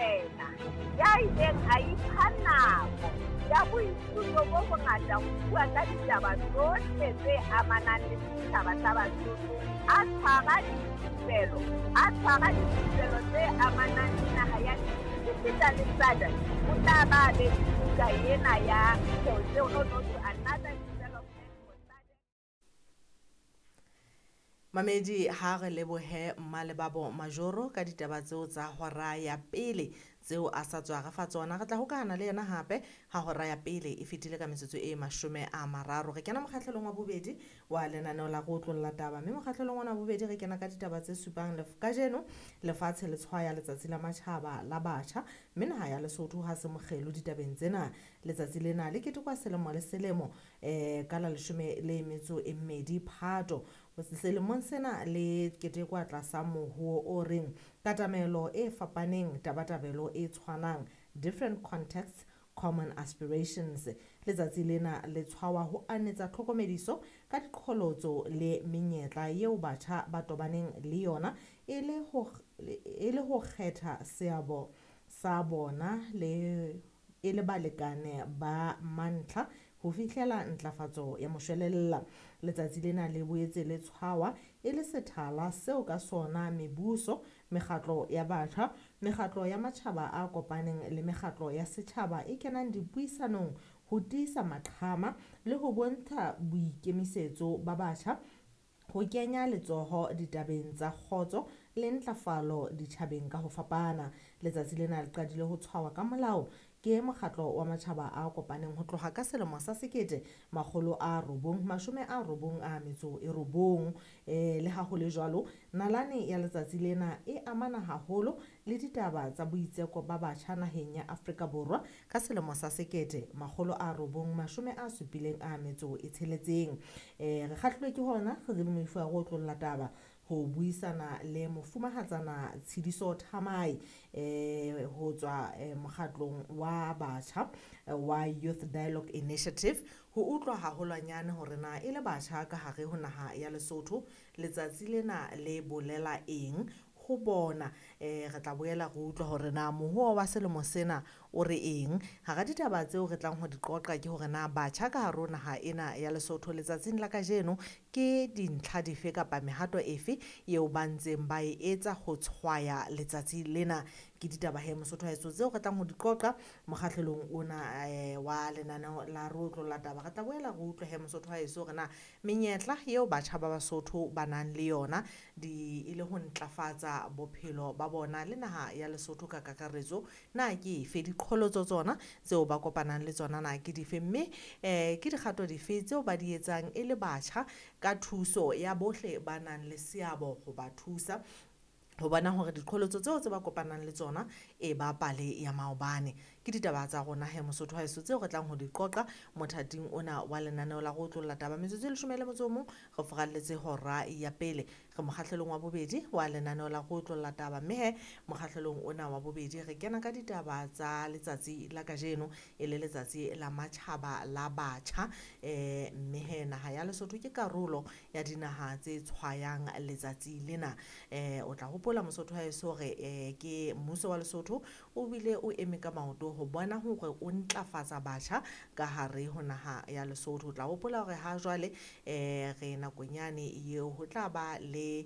Morena ya ileng a ipha nako ya boithuto bo bongata ho bua ka ditaba tsohle tse amanang le setjhaba sa Basotho, a tshwara dithupelo tse amanang le naha ya esita le SADC, o tla ba be buka ena ya No No to Another Development for SADC. Mamedi ha re lebohe Mmalebabo Majoro ka ditaba tseo tsa hora ya pele tseo a sa tswa re fa tsona. Re tla hokahana le yena hape ha hora ya pele e fetile ka metsotso e 30. Re kena mokgahlelong wa bobedi wa lenaneo la go otlolla taba, mme mokgahlelong ona wa bobedi re kena ka ditaba tse supang kajeno lefatshe le tshwaya letsatsi la matjhaba la batjha, mme naha ya Lesotho ha se mokgelo ditabeng tsena. Letsatsi lena le ketekwa selemo le selemo ka la 12 Phato. Selemong sena le ketekwa tlasa mohuo o reng katamelo e fapaneng, tabatabelo e tshwanang, different contexts, common aspirations. Letsatsi lena le tshwawa ho anetsa tlhokomediso ka diqholotso le menyetla eo batjha ba tobaneng le yona e le ho kgetha seabo sa bona le e le balekane ba mantlha ho fihlela ntlafatso ya moshwelella. Letsatsi lena le boetse le tshwawa e le sethala seo ka sona mebuso, mekgatlo ya batjha, mekgatlo ya matjhaba a kopaneng le mekgatlo ya setjhaba e kenang dipuisanong ho tiisa maqhama le ho bontsha boikemisetso ba batjha ho kenya letsoho ditabeng tsa kgotso le ntlafalo ditjhabeng ka ho fapana. Letsatsi lena le qadile ho tshwawa ka molao ke mokgatlo wa matjhaba a kopaneng ho tloha ka selemo sa 1999. Le ha ho le jwalo, nalane ya letsatsi lena e amana haholo le ditaba tsa boitseko ba batjha naheng ya Afrika Borwa ka selemo sa 1976. Re kgahlilwe ke hona re le moifo wa go otlolla taba ho buisana le mofumahatsana Tshidiso Thamae ho tswa mokgatlong wa batjha wa Youth Dialogue Initiative ho utlwa haholwanyane hore na e le batjha ka hare ho naha ya Lesotho letsatsi lena le bolela eng ho bona. Re tla boela re utlwa hore na mohuo wa selemo sena o re eng. Hara ditaba tseo re tlang ho di qoqa ke hore na batjha ka hare ho naha ena ya Lesotho letsatsing la kajeno ke dintlha dife kapa mehato efe eo ba ntseng ba e etsa ho tshwaya letsatsi lena. Ke ditaba he Mosotho wa heso tseo re tlang ho di qoqa mokgahlelong ona wa lenaneo la re otlolla taba. Re tla boela re utlwe he Mosotho wa heso hore na menyetla eo batjha ba Basotho ba nang le yona di e le ho ntlafatsa bophelo ba bona le naha ya Lesotho ka kakaretso na ke efe, diqholotso tsona tseo ba kopanang le tsona na ke dife, mme ke dikgato dife tseo ba di etsang e le batjha ka thuso ya bohle ba nang le seabo ho ba thusa ho bona hore diqholotso tseo tse ba kopanang le tsona e ba pale ya maobane. Ke ditaba tsa rona he Mosotho wa heso tseo re tlang ho di qoqa mothating ona wa lenaneo la go otlolla taba. Metsotso e 11 re furalletse hora ya pele, re mokgahlelong wa bobedi wa lenaneo la go otlolla taba, mme he mokgahlelong ona wa bobedi re kena ka ditaba tsa letsatsi la kajeno e le letsatsi la matjhaba la batjha. Mme he naha ya Lesotho ke karolo ya dinaha tse tshwayang letsatsi lena. O tla hopola Mosotho wa heso hore ke mmuso wa Lesotho o bile o eme ka maoto ho bona hore o ntlafatsa batjha ka hare ho naha ya Lesotho. O tla hopola hore ha jwale re nakong yane eo ho tla ba le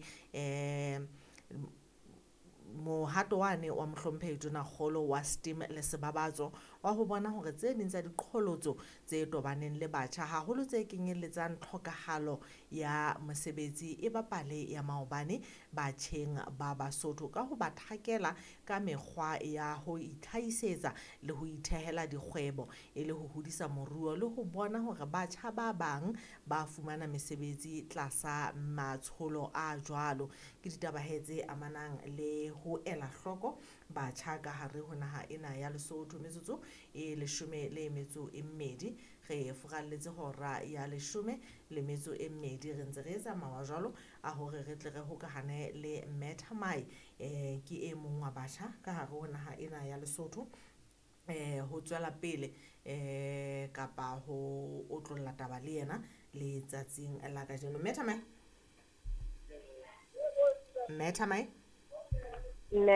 mohato wane wa mohlomphehi Tonakgolo wa STEAM le Sebabatso wa ho bona hore tse ding tsa diqholotso tse tobaneng le batjha haholo tse kenyelletsang tlhokahalo ya mosebetsi e bapale ya maobane batjheng ba Basotho ka ho ba thakela ka mekgwa ya ho itlhahisetsa le ho ithehela dikgwebo e le ho hodisa moruo le ho bona hore batjha ba bang ba fumana mesebetsi tlasa matsholo a jwalo. Ke ditaba he tse amanang le ho ela hloko batjha ka hare ho naha ena ya Lesotho. Metsotso e 12 re furalletse hora ya 12 re ntse re etsa mawa jwalo a hore re tle re hokahane le Mme Thamae, ke e mong wa batjha ka hare ho naha ena ya Lesotho ho tswela pele kapa ho otlolla taba le yena letsatsing la kajeno. Mme Thamae, Mme Thamae. Mme